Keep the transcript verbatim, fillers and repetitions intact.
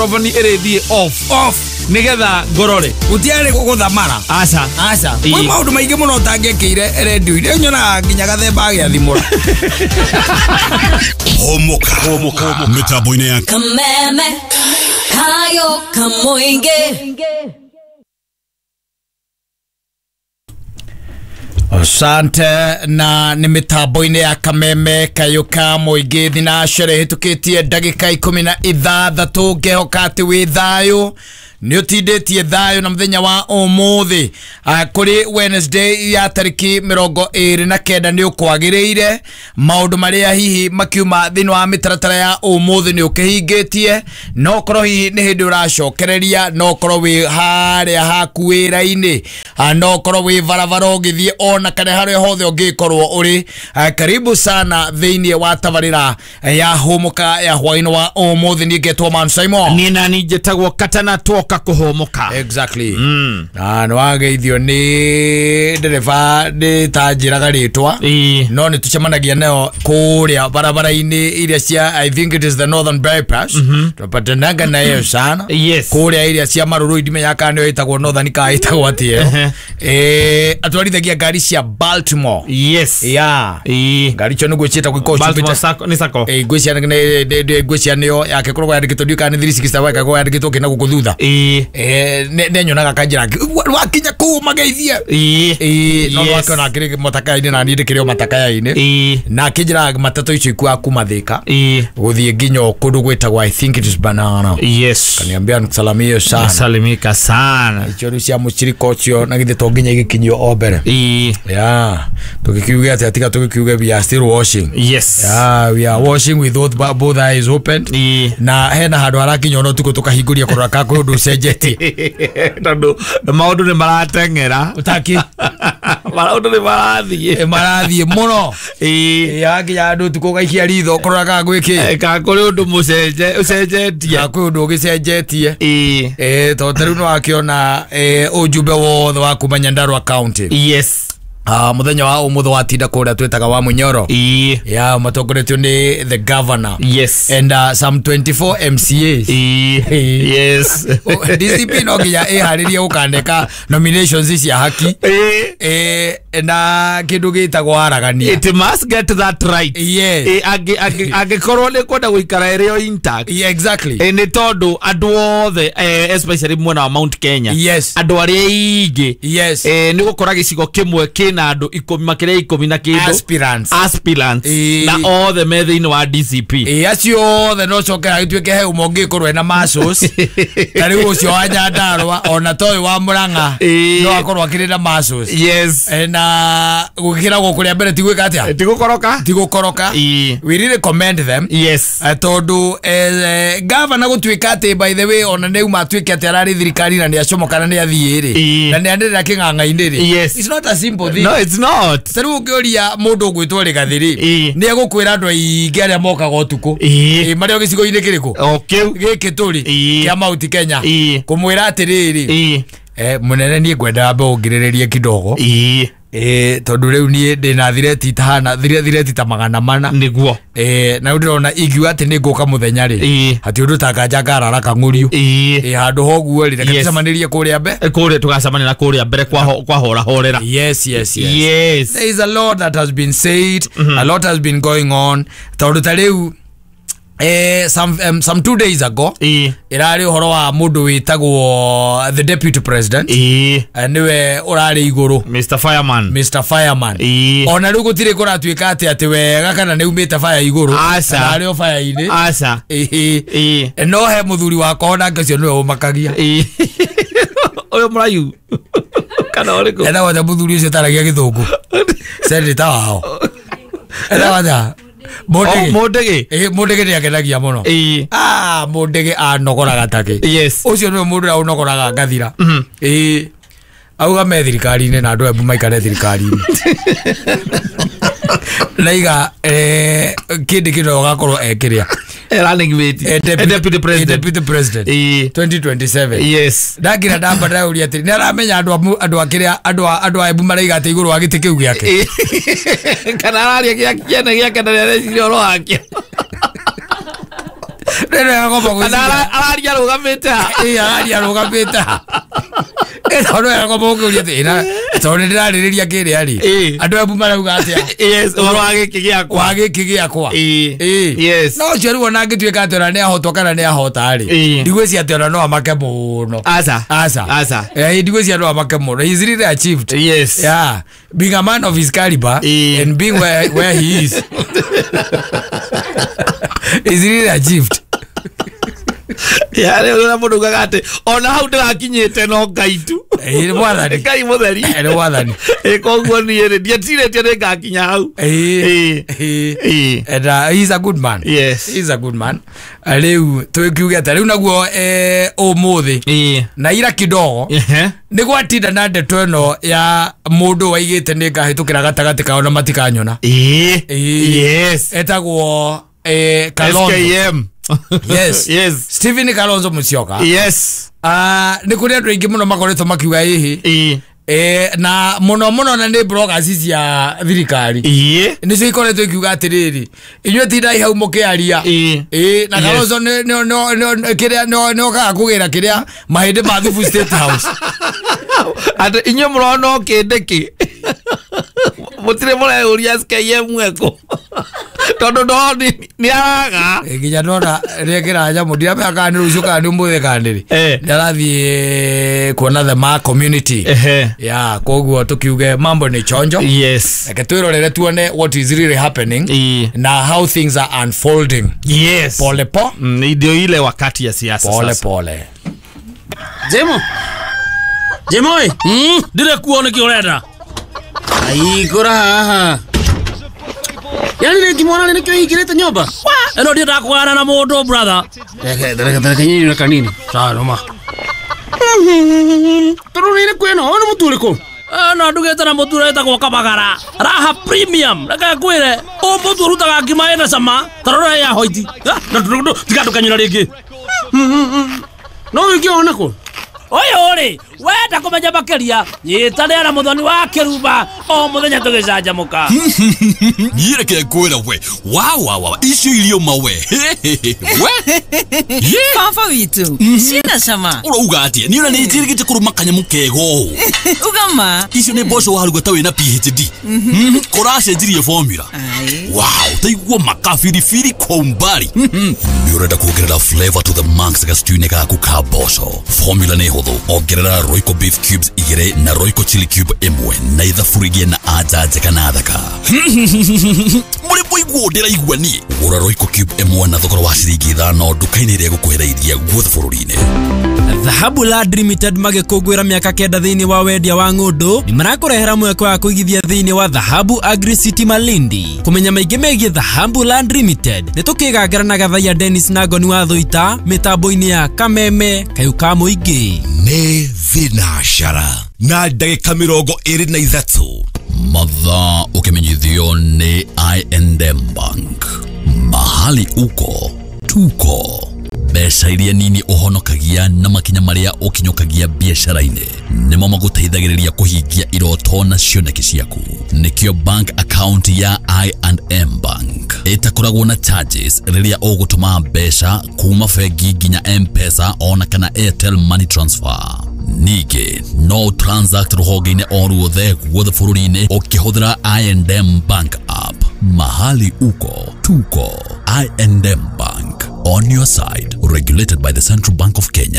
Microphone ĩrĩthiĩ off off nĩgetha ngorore. Gũtiarĩ gũthamara. Aca. Aca. Kwĩ maũndũ maingĩ mũno ũtangĩekĩire redio-inĩ. Nyonaga nginya gathemba agĩathimũra. Homoka. Homoka. Mĩtambo-inĩ ya Kameme kayo kamoinge. Asante na nĩ mĩtambo-inĩ ya Kameme kayo ka mũingĩ thinacere hĩtũkĩtie ndagĩka ikũmi na ithathatũ ngehoka atĩ wĩ thayũ nĩ ũtindĩtie thayũ na mũthenya wa ũmũthĩ kũrĩ Wednesday ya tarĩki mĩrongo ĩrĩ na kenda nĩ ũkwagĩrĩire maũndũ marĩa hihi makiuma thĩinĩ wa mĩtaratara ya ũmũthĩ nĩ ũkĩhingĩtie no korwo hihi nĩ hĩndĩ ũracokereria no korwo wĩ harĩa haku wĩra-inĩ no korwo wĩ barabara ũgĩthiĩ ona kana harĩa hothe ũngĩkorwo ũrĩ. Karibu sana thĩinĩ wa tabarĩra ya Hũmũka ya hwaĩ-inĩ wa ũmũthĩ. Niĩ ngetwo Man Simon. Niĩ nani njĩtagwo Katana Twoka kuhomoka. Exactly. Mm. Na no ageithio ni ndereba ni tanjiraga ritwa no ni tucemanagia nayo kuria barabara-ini iria cia I think it is the Northern Bypass. Tupatanaga nayo sana. Yes. Kuria iria cia Maruru ndimenya kana nĩyo ĩtagwo Northern ka ĩtagwo atĩa. Eh atwarithagia ngari cia Baltimore. Yes. Yeah. Ngari icio nĩguo ciĩtagwo ikoragwo Baltimore Sacco ni Sacco. Eh ngwĩciria nĩ ngwĩciria nĩyo yake koragwo yandĩkĩtwo ndiũĩ kana nĩ three sixty five ĩkoragwo yandĩkĩtwo kĩna gũkũ thutha. Eh ne nyonaga kanjira wakinya kuu mageithie eh no wake na kire matakaini na ni ndikire matakaini na kinjira matatu icio ikua kuma Thika guthie nginya kundu gwitagwo I think it is Banana. Yes. Kaniambia nikusalimie sana. Salimika sana. Icio ru cia muciriko ucio na githe to nginya igikinyio o mbere. Yeah. Tukikiuge atia tiga tukikiuge we are still washing. Yes. Yeah, we are washing with both both eyes open. Na hena handu harakinya ono tuko tukahinguria kurora ka kwi undu ucenjetie. Tondu maundu ni marateng'era utaki maundu ni marathie marathie muno yakinya andu tuko gaikia ritho kurora ka gwiki ka kuri undu mucenje ucenjetie ka kwi undu ugicenjetie eh tondu riu no akiona ujumbe wothe wa kuma Nyandarua County. Yes. Ah, muthenya wa umuthi watinda kuria twitaga wa Munyoro. Yeah, matongoretio ni the governor. Yes. And uh, some twenty-four M C As. Yes. D C P no nginya iharirie gukandeka nominations cia haki. Eh na kindu gitagwo aragania. It must get that right. Yes. Eh angikorwo ni kwenda guikara ĩrĩ o intact. Yeah, exactly. Eh ni tondu andu othe especially mwena wa Mount Kenya. Yes. Andu aria aingĩ. Yes. Eh ni gukora gicigo kimwe kina andu ikumi makiria ikumi na kindu aspirants. Aspirants. E... Na othe me thiini wa D C P. Eh acio othe no coke agituike he umwe ungikorwo ena muscles. Ta riu ucio wa Nyandarua ona toy wa Murang'a no akorwo akiri na muscles. Yes. E, na gukiragwo kuria mbere ti gwika atia? Ti gukoroka. Ti gukoroka. We really commend them. Yes. Tondu eh, governor gutuika ati by the way ona nĩ uma atuike ati arari thirikari na ni acomoka na ni athie ri na ni anĩrĩra kĩng'ang'a-inĩ ri. Yes. It's not a simple thing. No, it's not. Ta rĩu ũngĩũria mũndũ ũgwĩtwo Rigathi rĩ nĩ egũkwĩra andũ aingĩ arĩa mokaga ũtukũ marĩ o gĩcigo-inĩ kĩrĩkũ o kĩu gĩkĩ tũrĩ kĩa Mount Kenya kũmwĩra atĩrĩrĩ eh mũnene niĩ ngwenda ambe ũngirĩrĩrie kidogo eh tondu rĩu niĩ ndĩna thireti itahana thireti ta magana mana nĩguo eh na ndĩrona ingiuga atĩ nĩ ngũka mũthenya rĩ hati ũndũ tanganja ngarara kang'ũrio eh handũ hoguo rĩ reke tũcemanĩrie kũrĩa mbe kũrĩa tũgacemanĩra kũrĩa mbere kwa hora horera. Yes, yes, yes. Yes. There is a lot that has been said. Mm-hmm. A lot has been going on tondu ta rĩu eh some um, some two days ago irari uhoro wa mundu witagwo the deputy president eh niwe urari iguru Mister Fireman. Mister Fireman ona riu gutire kuratuika ati ati wega kana ni umite fire iguru kana ari o fire ini aca eh no he muthuri wakwa ona ngecio niwe umakagia uyu murayu kana uriku ena wothe muthuri ucio taragia githungu senator wao ena wothe Mundigi. Mundigi. Eh Mundigi ni akenagia muno. Eh. Ah Mundigi anogoraga take. Yes. Ucio niwe mundu uria unogoraga ngathira. Eh. Auga me thirikari-inĩ na andũ Embu maikare thirikari-inĩ. Naiga eh kindi kino gakorwo ekiria. Running mate. Eh, deputy, deputy president. Deputy president. Eh. twenty twenty-seven. Yes. Ndagira ndamba ndauria atiri ni aramenya andu andu akiria andu andu a Embu maraiga ati iguru wa giti kiu giake. Kana araria gia kiene giake na areciria oro wake. Rĩrĩ yagomba gwĩciria Araria arũgamĩte ha? Ĩĩ araria arũgamĩte ha? Ĩno no yagomba gũkĩũria atĩ ĩna tondũ nĩ ndĩrarĩrĩria kĩrĩa rĩ. Ĩĩ. Andũ a Embu marauga atĩa? Yes, ũhoro wa gĩkĩ gĩakwa. Wa gĩkĩ gĩakwa. Ĩĩ. Ĩĩ. Yes. No ũcio rĩu ona angĩtuĩka atĩ ona nĩ ahotwo kana nĩ ahota rĩ. Ĩĩ. Ndigwĩciria atĩ ona no amake mũno. Aca. Aca. Aca. Eh, ndigwĩciria no amake mũno. He's really achieved. Yes. Yeah. Being a man of his caliber Ĩĩ. and being where, where he is. He's really achieved. Ya rĩu ũrĩa mũndũ augaga atĩ ona hau ndĩrakinyĩte no Ngai tu. Ĩĩ nĩ mwathani. Ngai mũtheri. Ĩĩ nĩ mwathani. Ĩĩ koguo niĩ rĩ ndiecirĩtie nĩ ngakinya hau. Ĩĩ. Ĩĩ. Ĩĩ. Ĩĩ. And uh, he's a good man. Yes. He's a good man. Rĩu twĩkiuge atĩa rĩu naguo eh, ũmũthĩ Ĩĩ. na ira kidogo Ehe. nĩ gwatinda na ndeto ĩno ya mũndũ waigĩte nĩ ngahĩtũkĩra gatagatĩ kao na matikanyona. Ĩĩ. Ĩĩ. Yes. Etagwo eh, Kalonzo. S K M. Yes. Yes. Stephen Kalonzo Musyoka. Yes. Ah, nĩ kũrĩ andũ aingĩ mũno makoretwo makiuga ĩhĩ. Ĩĩ. Eh, na mũno mũno na nĩ bloggers cia thirikari. Ĩĩ. Nĩcio ikoretwo ikiuga atĩrĩrĩ, inyuĩ tindai hau mũkĩaria. Ĩĩ. Ĩĩ, na Yes. Kalonzo nĩ nĩ nĩ nĩ kĩrĩa nĩ nĩ okaga kũgĩra kĩrĩa mahĩndĩ ma Thubu State House. Atĩ inyuĩ mũrona o kĩndĩ mũtirĩ mũreyũria S K M ekũ. Tondũ no nĩ araga. Ĩ, nginya ndona rĩekĩra nyamũ ndiramenya kana nĩ rũciũ kana nĩ ũmũthĩ kana nĩ rĩ. Eh. Nĩ arathiĩ kuona the ma community. Ehe. Ya, koguo tukiuge mambo ni chonjo. Yes. Reke twĩrorere tuone what is really happening Ĩĩ. na how things are unfolding. Yes. Pole po. Mm, ndio ile wakati ya siasa Pole sasa. pole. Jemo. Jemo ĩ. Mm, ndire kuo nĩkĩ ũrenda. Aikora haha. Yaani rĩngĩ mwana nĩkĩo hingĩrĩte nyũmba? Ĩno ndiendaga kũgana na mũndũ brother. Reke reke reke nyinyi na kanini. Sawa noma. Tondũ nĩ kwĩna ona mũtu ũrĩkũ? Ĩno ndugĩte na mũtu ũrĩa wĩtagwo Kabagara. Raha Premium. Reke ngwĩre, ũyũ mũtu ũrutaga ngima ĩna cama, ta rora ya hoiti. Na tiga ndũkanyũra rĩngĩ. No wĩke ona kũ? Ũyũ rĩ, wenda kũmenya makĩria, nyitanĩra na Mũthoni wa Kĩrumba o mũthenya tũgĩcanjamũka. Niĩ reke ngwĩre we wa wa wa icio irio mawe we Baba witũ cina cama. Ũrauga atĩa? Niĩ ona nĩ njĩrĩgĩte kũrũma kanyamũ kega ũũ. Uga ma. Icio nĩ mboco waruga ta wĩna P H D. Kũracenjirie formula. Wow, taigua makabiribiri kwa umbali. Nĩ ũrenda kuongerera flavor to the max gastew-inĩ gaku ka mboco. Formula nĩ hũthũ. Ongerera Royco beef cubes igĩrĩ na Royco chili cube ĩmwe na ithabu rĩgĩe na anja njega na thaka. Mũrĩ mũiguo ndĩraigua niĩ. Gũra Royco cube ĩmwe na thogora wa ciringi ithano nduka-inĩ ĩrĩa ĩgũkuhĩrĩirie guothe bũrũri-inĩ. Dhahabu Land Limited magĩkũngũĩra mĩaka kenda thĩinĩ wa wendia wa ng'ũndũ nĩ marakũrehera mweke wa kũigithia thĩinĩ wa Dhahabu Agri City Malindi. Kũmenya maingĩ megiĩ Dhahabu Land Limited nĩ tũkĩgangara na Gathaiya Dennis na Ngoni wa Thũita mĩtambo-inĩ ya Kameme Kayũ ka Mũingĩ. Nĩ thinacara na ndagĩka mĩrongo ĩrĩ na ithatũ. Mathaa ũkĩmenyithio nĩ I and M Bank. Mahali uko tuko. Mbeca iria nini ũhonokagia na makinya marĩa ũkinyũkagia biacara-inĩ nĩmo magũteithagĩrĩria kũhingia iroto na cioneki ciaku. Nĩkĩo bank account ya I and M Bank ĩtakoragwo na charges rĩrĩa ũgũtũma mbeca kuma bengi nginya M-Pesa ona kana Airtel Money Transfer. Ningĩ no transact rũhonge-inĩ o ruothe guothe bũrũri-inĩ ũkĩhũthĩra I and M Bank app. Mahali uko tuko. I and M Bank, on your side, regulated by the Central Bank of Kenya.